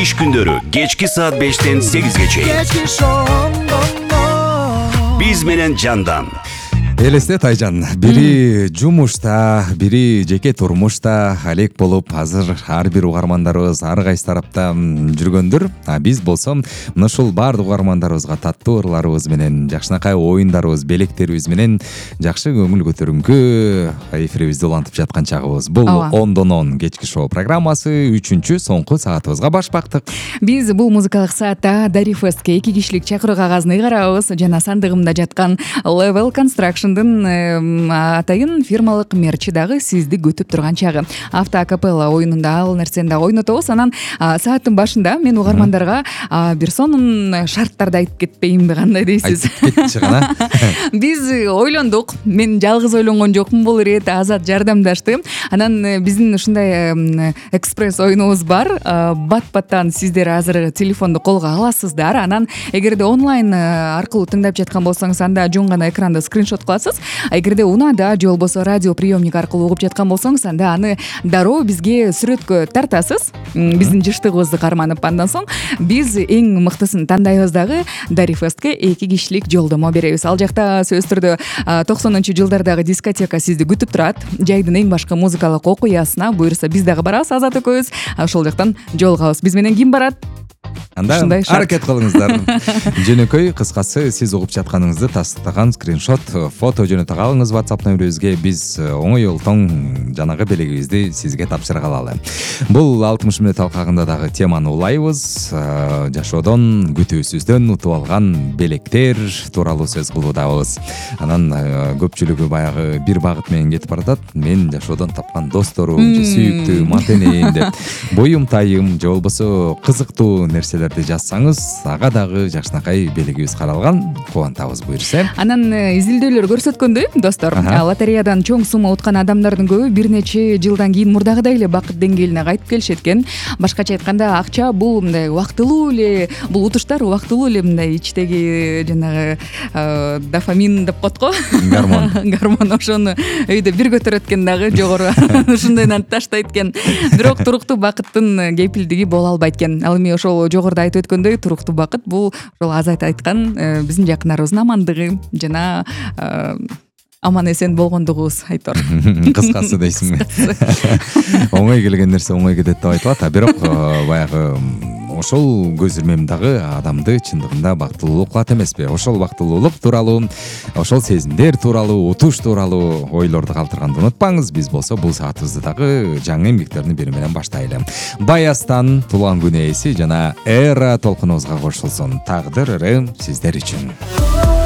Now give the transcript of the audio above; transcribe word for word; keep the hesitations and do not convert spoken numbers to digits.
иш күндөрү кечки саат бештен сегизге чейин биз менен Жандан. Элесте Тайжан, бири жумушта, бири жеке турмушта алек болуп, азыр ар бир угармандарыбыз ар кайсы тарапта жүргөндөр. А биз болсо мына ушул баардык угармандарыбызга таттуу ырларыбыз менен, жакшынакай оюндарыбыз, белектерибиз менен жакшы көңүл көтөрүнгү эфирибизди улантып жаткан чагыбыз. Бул ондон он кечки шоу программасы үчүнчү соңку саатыбызга баш бактык. Биз бул музыкалык саатта Дари Фестке эки кишилик чакыруу кагазын ыйгарабыз жана сандыгымда жаткан Level Construction атайын фирмалык мерчи дагы сизди күтүп турган чагы. Авто акапелла оюнунда ал нерсени дагы ойнотобуз. Анан сааттын башында мен угармандарга бир сонун шарттарды айтып кетпейинби, кандай дейсиз? Айтып кетчи гана. Биз ойлондук. Мен жалгыз ойлонгон жокмун, бул ирет Азат жардамдашты. Анан биздин ушундай экспресс оюнубуз бар. Бат-баттан сиздер азыр телефонду колго аласыздар. Анан эгерде онлайн аркылуу тыңдап жаткан болсоңуз, анда жөн гана экранды скриншот кыласыз. А эгерде унаада же болбосо радио приемник аркылуу угуп жаткан болсоңуз, анда аны дароо бизге сүрөткө тартасыз. Биздин жыштыгыбызды карманып, андан соң биз эң мыктысын тандайбыз дагы Дари Фестке эки кишилик жолдомо беребиз. Ал жакта сөзсүз түрдө токсонунчу жылдардагы дискотека сизди күтүп турат. Жайдын эң башкы музыкалык окуясына буюрса биз дагы барабыз, Азат экөөбүз. Ошол жактан жолугабыз. Биз менен ким барат? Анда аракет кылыңыздар. Жөнөкөй кыскасы сиз угуп жатканыңызды тастыктаган скриншот, фото жөнөтө калыңыз WhatsApp нөмүрүбүзгө. Биз оңой олтоң жанагы белегибизди сизге тапшырып алалы. Бул алтымыш мүнөт алкагында дагы теманы улайбыз. Жашоодон, күтүүсүздөн утуп алган белектер тууралуу сөз кылуудабыз. Анан көпчүлүгү баягы бир багыт менен кетип баратат. Мен жашоодон тапкан досторум, сүйүктүү мантенейин деп буюм-тайым же болбосо кызыктуу нерселерди жазсаңыз, ага дагы жакшынакай белегибиз каралган. Кубантабыз буюрса. Анан изилдөөлөр көрсөткөндөй, достор, лотереядан чоң сумма уткан адамдардын көбү бир нече жылдан кийин мурдагыдай эле бакыт деңгээлине кайтып келишет экен. Башкача айтканда, акча бул мындай убактылуу эле, бул утуштар убактылуу эле мындай ичтеги жанагы дофамин деп коет го. Гормон. Гормон ошону өйдө бир көтөрөт экен дагы жогору. Ушундайдан таштайт экен. Бирок туруктуу бакыттын кепилдиги боло албайт экен. Ал эми ошол жогоруда айтып өткөндөй, туруктуу бакыт бул ошол Азат айткан биздин жакындарыбыздын амандыгы жана аман эсен болгондугубуз айтор. Кыскасы дейсиңби? Оңой келген нерсе оңой кетет деп айтылат, а бирок баягы ошол көз ирмем дагы адамды чындыгында бактылуулук кылат эмеспи? Ошол бактылуулук тууралуу, ошол сезимдер тууралуу, утуш тууралуу ойлорду калтырганды унутпаңыз. Биз болсо бул саатыбызды дагы жаңы эмгектердин бири менен баштайлы. Баястан туулган күн ээси жана Эра толкунубузга кошулсун. Тагдыр ыры сиздер үчүн.